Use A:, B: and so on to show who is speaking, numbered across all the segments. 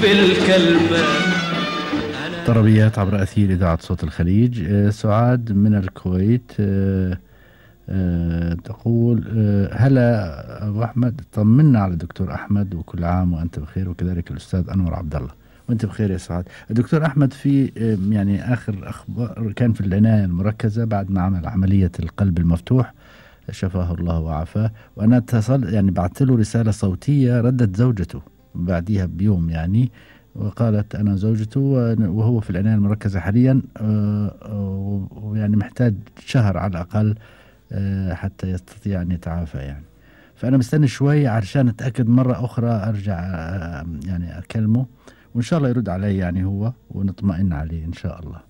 A: بالكلمة.
B: طربيات عبر أثير إذاعة صوت الخليج. سعاد من الكويت تقول هلا أبو أحمد، طمنا على الدكتور أحمد وكل عام وأنت بخير، وكذلك الأستاذ أنور عبد الله وأنت بخير يا سعاد. الدكتور أحمد في يعني آخر أخبار كان في العناية المركزة بعد ما عمل عملية القلب المفتوح، شفاه الله وعافاه. وأنا اتصل يعني بعثت له رسالة صوتية، ردت زوجته بعديها بيوم يعني، وقالت أنا زوجته وهو في العناية المركزة حاليا، ويعني محتاج شهر على الأقل حتى يستطيع أن يتعافى يعني. فأنا مستني شوي عشان أتأكد مرة أخرى، أرجع يعني أكلمه وإن شاء الله يرد علي يعني هو، ونطمئن عليه إن شاء الله.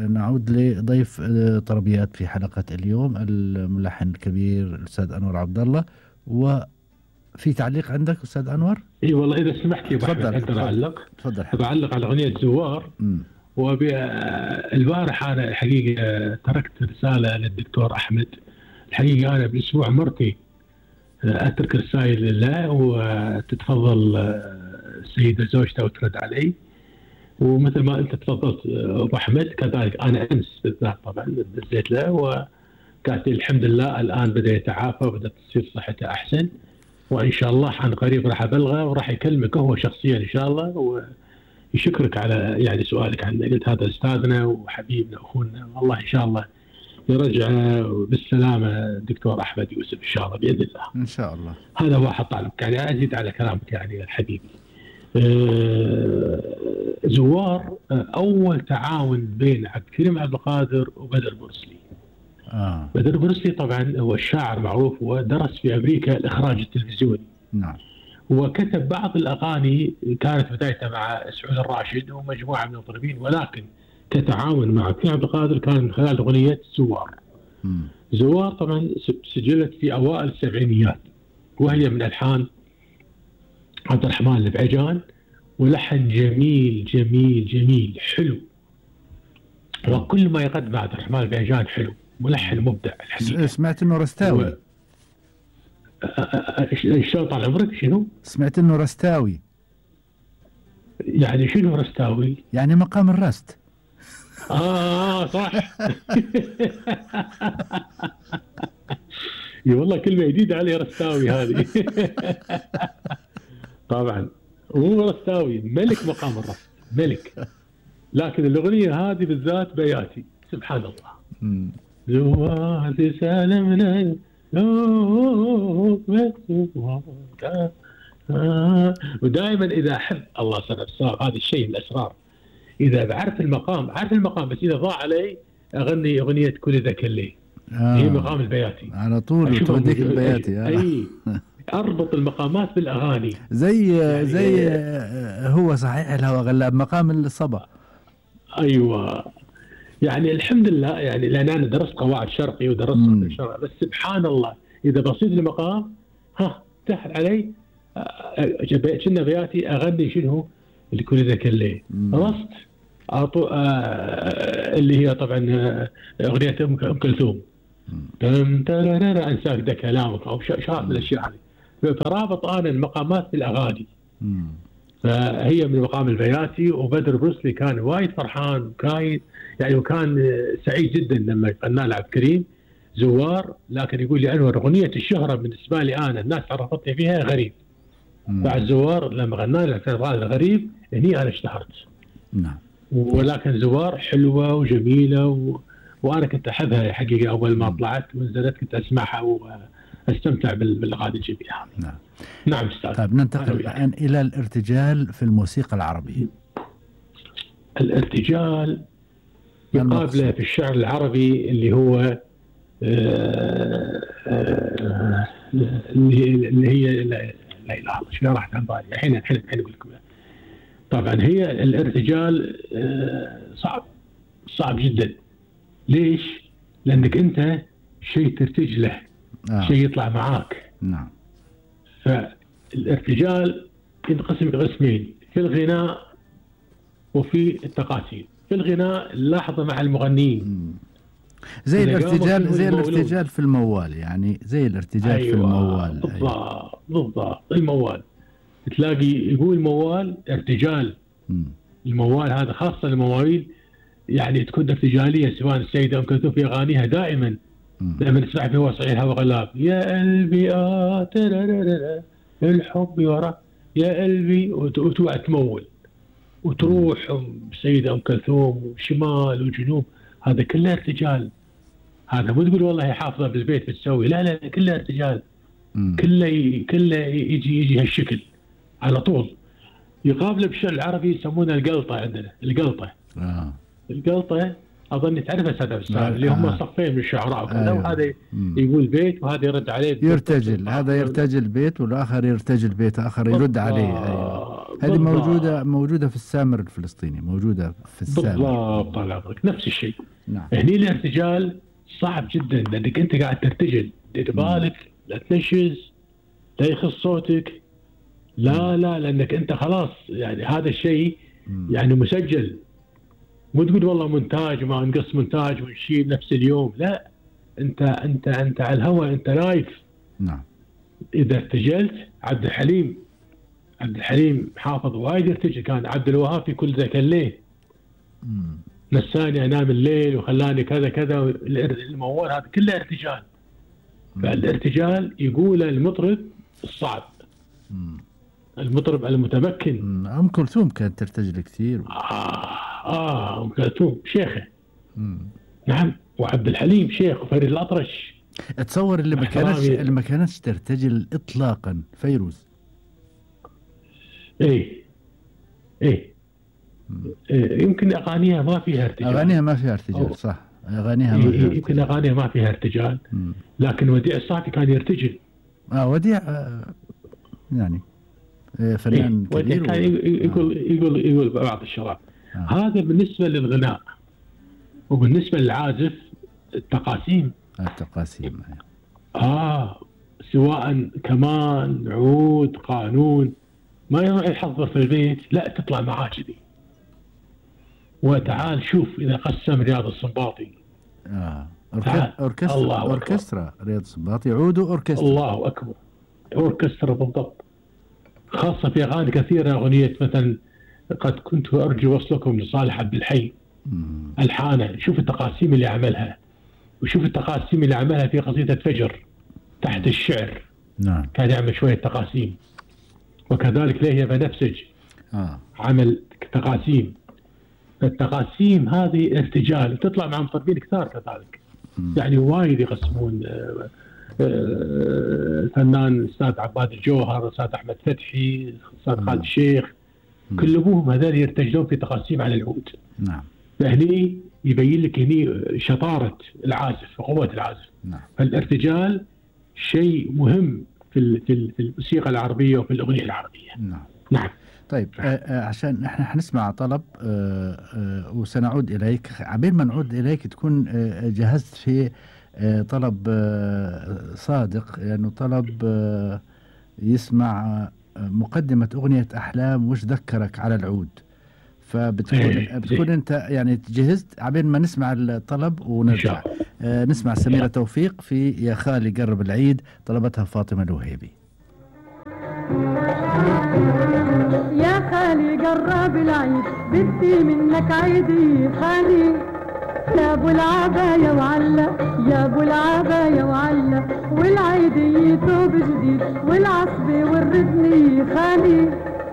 B: نعود لضيف طربيات في حلقة اليوم، الملحن الكبير الأستاذ أنور عبد الله. وفي تعليق عندك أستاذ أنور؟
C: اي والله اذا سمحت يا ابو احمد اقدر اعلق.
B: تفضل.
C: بعلق على اغنيه زوار. والبارح انا الحقيقه تركت رساله للدكتور احمد. الحقيقه انا بالاسبوع مرتين اترك رسائل لله وتتفضل السيده زوجته وترد علي، ومثل ما انت تفضلت ابو احمد كذلك انا امس بالذات طبعا دزيت له وقالت لي الحمد لله الان بدا يتعافى وبدات تصير صحته احسن، وان شاء الله عن قريب راح ابلغه وراح يكلمك هو شخصيا ان شاء الله ويشكرك على يعني سؤالك عنه. قلت هذا استاذنا وحبيبنا واخونا، والله ان شاء الله يرجع بالسلامه الدكتور احمد يوسف ان شاء الله باذن الله.
B: ان شاء الله.
C: هذا هو حطالك يعني ازيد على كلامك يعني حبيبي. زوار اول تعاون بين عبد الكريم عبد القادر وبدر بورسلي. بدر بورسلي طبعا هو الشاعر معروف ودرس في امريكا الاخراج التلفزيوني.
B: نعم.
C: وكتب بعض الاغاني كانت بدايتها مع سعود الراشد ومجموعه من المطربين، ولكن كتعاون مع عبد الكريم عبد القادر كان من خلال اغنيه زوار. زوار طبعا سجلت في اوائل السبعينيات وهي من الحان عبد الرحمن البعجان، ولحن جميل جميل جميل حلو، وكل ما يقدم عبد الرحمن البعجان حلو، ملحن مبدع الحقيقة.
B: سمعت انه رستاوي.
C: شلون طال عمرك شنو؟
B: سمعت انه رستاوي.
C: يعني شنو رستاوي؟
B: يعني مقام الرست.
C: صح. اي والله كلمة جديدة علي رستاوي هذه. طبعا مو رستاوي، ملك مقام الرست، ملك. لكن الأغنية هذه بالذات بياتي سبحان الله. زوار سالمنا ودائما إذا أحب الله سنة هذا الشيء من الأسرار، إذا بعرف المقام عارف المقام بس إذا ضاع علي أغني أغنية كل ذاك الليل. هي مقام البياتي
B: على طول توديك البياتي.
C: أي أربط المقامات بالأغاني
B: زي هو صحيح الهوى غلاب مقام الصبا.
C: أيوة يعني الحمد لله يعني لأن أنا درست قواعد شرقي ودرست الشرق، بس سبحان الله إذا بصيت المقام تحت علي كنا بياتي أغني شنو لكل ذاك الليل. خلصت اللي هي طبعا أغنية أم كلثوم أنساك ده كلامك أو شاء من الأشياء هذه، فرابط أنا المقامات بالأغاني. فهي من مقام البياتي. وبدر بورسلي كان وايد فرحان وكان سعيد جدا لما غنى له عبد الكريم زوار، لكن يقول لي أنور أغنية الشهرة بالنسبة لي أنا الناس عرفتني فيها غريب. بعد زوار لما غنى له هذا غريب هني أنا اشتهرت.
B: نعم.
C: ولكن زوار حلوة وجميلة وأنا كنت أحبها حقيقة أول ما طلعت ونزلت كنت أسمعها واستمتع بالأغاني الجميلة.
B: نعم.
C: نعم أستاذ.
B: طيب ننتقل الآن إلى الارتجال في الموسيقى العربية.
C: الارتجال يقابله في الشعر العربي اللي هو اللي هي لا إله إلا الله شو راح عن بالي الحين أقول لكم. طبعا هي الارتجال صعب جدا. ليش؟ لأنك أنت شيء ترتج له شيء يطلع معاك.
B: نعم.
C: فالارتجال ينقسم قسمين، في الغناء وفي التقاسيم. في الغناء لاحظه مع المغنيين
B: زي الارتجال في الموال، يعني زي الارتجال. أيوة في الموال.
C: بالضبط الموال تلاقي يقول موال ارتجال. الموال هذا خاصة المواويل يعني تكون ارتجالية، سواء السيدة أم كلثوم في أغانيها دائما لما نسمع في وصعي الهوى غلاب، يا قلبي الحب ورا يا قلبي، وتوعى تمول وتروح السيدة أم كلثوم وشمال وجنوب، هذا كله ارتجال. هذا مو تقول والله حافظة بالبيت بتسوي، لا لا كله ارتجال. كله يجي هالشكل على طول. يقابله بالشعر العربي يسمونه القلطة، عندنا القلطة. القلطة أظن تعرفها أستاذ عبد السلام، اللي هم صفين من الشعراء وكذا، وهذا يقول بيت وهذا يرد عليه
B: يرتجل، هذا يرتجل بيت والآخر يرتجل بيت آخر يرد عليه. أيوة. هذه موجودة في السامر الفلسطيني، موجودة في السامر.
C: بالضبط، طال عمرك نفس الشيء.
B: نعم.
C: هني الارتجال صعب جدا لأنك أنت قاعد ترتجل، دير بالك لا تنشز، لا يخص صوتك، لا لأنك أنت خلاص يعني هذا الشيء يعني مسجل. مو تقول والله مونتاج وما نقص مونتاج ونشيل نفس اليوم، لا، انت على الهواء، انت لايف.
B: نعم.
C: اذا ارتجلت عبد الحليم حافظ وايد يرتجل، كان عبد الوهاب في كل ذاك الليل نساني انام الليل وخلاني كذا كذا، الموال هذا كله ارتجال. فالارتجال يقول المطرب الصعب، المطرب المتمكن.
B: أم كلثوم كانت ترتجل كثير.
C: أم كلثوم شيخة. نعم، وعبد الحليم شيخ، وفريد الأطرش.
B: أتصور اللي ما كانتش ترتجل إطلاقا فيروز.
C: إيه يمكن أغانيها ما فيها ارتجال.
B: صح، أغانيها ما فيها
C: يمكن أغانيها ما فيها ارتجال. لكن وديع الصافي كان يرتجل.
B: وديع يعني فنان كبير.
C: كان يقول بعض الشباب. هذا بالنسبة للغناء. وبالنسبة للعازف التقاسيم. سواء كمان، عود، قانون، ما يروح يحضر في البيت، لا تطلع معاه كذي. وتعال شوف إذا قسم رياض السنباطي.
B: أوركسترا رياض السنباطي، عود وأوركسترا.
C: الله أكبر، أوركسترا بالضبط. خاصة في أغاني كثيرة، أغنية مثلا قد كنت أرجو وصلكم لصالح عبد الحي، الحانه، شوف التقاسيم اللي عملها، وشوف التقاسيم اللي عملها في قصيدة فجر تحت الشعر.
B: نعم.
C: كان يعمل شوية تقاسيم. وكذلك ليهيا بنفسج عمل تقاسيم. التقاسيم هذه ارتجال، تطلع مع مطربين كثار كذلك. يعني وايد يقسمون. الفنان الأستاذ عباد الجوهر، الأستاذ أحمد فتحي، الأستاذ خالد الشيخ، كلهم هذول يرتجلون في تقاسيم على العود.
B: نعم.
C: فهني يبين لك هني شطارة العازف وقوة العازف.
B: نعم.
C: فالارتجال شيء مهم في الموسيقى العربية وفي الأغنية العربية. نعم.
B: طيب، عشان احنا حنسمع طلب وسنعود إليك. عبين ما نعود إليك تكون جهزت في طلب صادق، لأنه يعني طلب يسمع مقدمة أغنية أحلام وش ذكرك على العود. فبتكون أنت يعني جهزت عبين ما نسمع الطلب ونرجع نسمع سميرة توفيق في يا خالي قرب العيد، طلبتها فاطمة الوهيبي.
A: يا خالي قرب العيد، بدي منك عيدي خالي، يا ابو العباية وعلا، يا ابو العباية وعلا، والعيدي ثوب جديد والعصبة والردني خالي.